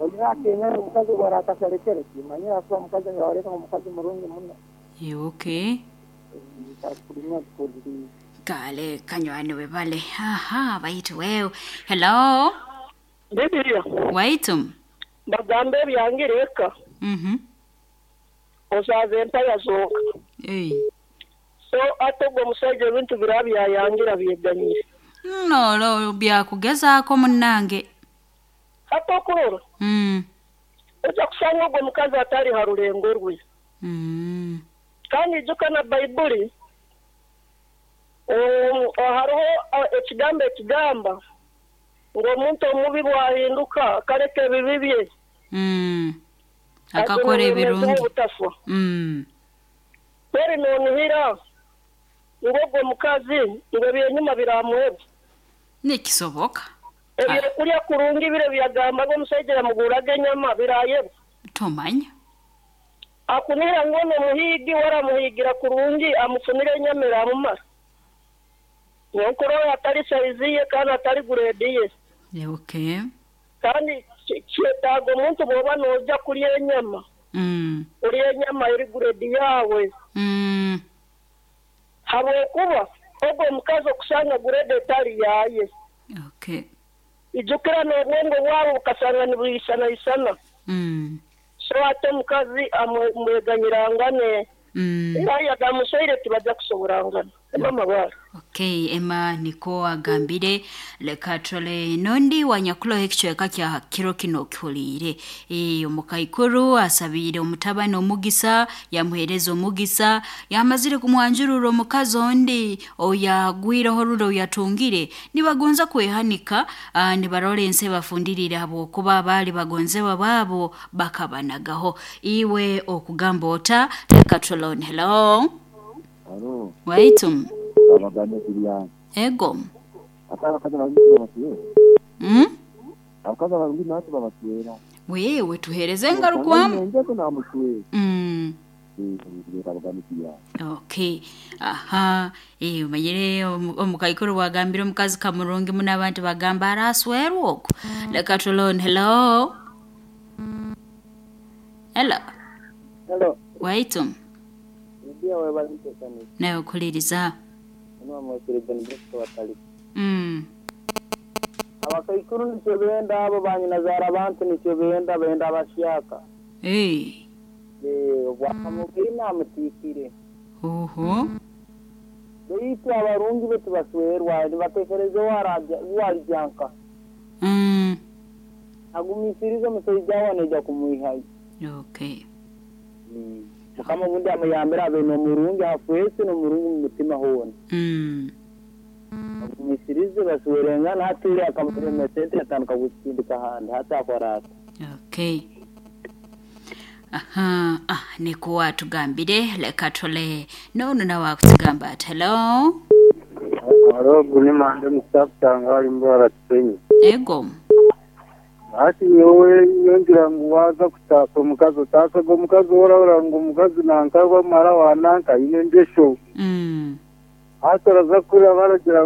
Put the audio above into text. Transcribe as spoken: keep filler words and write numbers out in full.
Olyakenya omukazi bwarakasharekere kimanyira kuba omukazi yaoreka omukazi murungi muno. Eh, okay. Kakulimya tukuliriza. Kale kanywani webale. Aha, baitu wewe. Hello. Bibiliya Waitu. bagamba ebyangire eka Mhm. osaaza empaya zonka. Ei. So ate ogwo omusajja ebintu biraba byayangira byeganyire. No, lo byakugezaako munnange. Ate okurora Mm. ojja kusanga ogwo omukazi atali ha rulengo rwe. Mm. Kandi ijuka na Baibuli um, hariho uh, ekigambo ekigamba ngu omuntu omubi bwahinduka akareka ebibi bye Mm. Akakora ebirungi. obutafa. Mm. Kweri nonihira ngu ogwo omukazi ngu ebyenyuma biramuhebwa. Nikisoboka. Ebyokulya kurungi bire byagambaga omusajja yamuguraga enyama birayebwa. Tomanya. Akunira ngu ono muhiigi waramuhigira kurungi amufunire enyama eramumara. Nyonkoro atali saizi ye kandi atali guredi ye. Eh, okay. Kandi ki- kyetaaga omuntu bw'oba n'ojja kulya enyama Mm. olya enyama eri guredi yaawe. Mm. Habwokuba ogwo omukazi okusanga guredi etali yaaye. Okay. Ijukira n'obwongo bwabo bukasanga nibwisanaisana. Mm. So ate omukazi amweganyirangane. Mm. Era yagamusoire tibajja kusoborangana. Mama bwara. Okay, Emma niko agambire leka tole nondi wanyakuloho ekicweka kya kiro kino kihuliire. E, omukaikuru asabiire omutabani omugisa yamuheereza omugisa yamazire kumwanjurura omukazi ondi oyagwireho rule oyatungire nibagonza kwehanika ah, nibarora ensi ebafundirire habwokuba baali bagonzebwa baabo bakabanagaho. Iwe okugamba ota leka tolone. Hello. Alo, Waitum. abaganda Julian. Ego. Ate abakazi abalungi babaswera. Mm? Abakazi abalungi nabo babaswera. Wewe tuhereze engarukwamu. Njeko namuswera. Mm. Eh, abaganda Julian. Okay. Aha. Eh umanyire omu- omukaikuru wagambire omukazi kamurungi muno abantu bagamba araswerwa okwo. Leka tulone. Hello. Hello. Hello. Waitum. Bibiliya webale ntekanisa. Nawe okuliriza. Ono amwekere John Bosco batali. Mm. Abakaikuru nikyo benda abo banyinazaara abantu nikyo benda benda abashyaka. Eh. Eh, obwakamubiri namutiikire. Oho. Beitu abarungi be tibaswerwa nibatekereza warijyanka. Mm. Agumisirize omushaija we naija kumwihayo. Okay. Mukama obundi amuyambire abe n'omurungi afwese n'omurungi mu mutima hoona. Mm. Agumisirize baswerengana hati akamurema sente atandika kukindika ahandi hati akora ata. Okay. Aha, ah, niko atugambire leka tole nono nawe akutugamba ati hello. Alo, guni mande musakutanga ali mbara kisenyi. Ego. Ati yowe yongira ngu waza kutasa omukazi otasaga omukazi orahura ngu omukazi nanka wamara wananka aine engesho. Mm. Hati oraza kurira baragira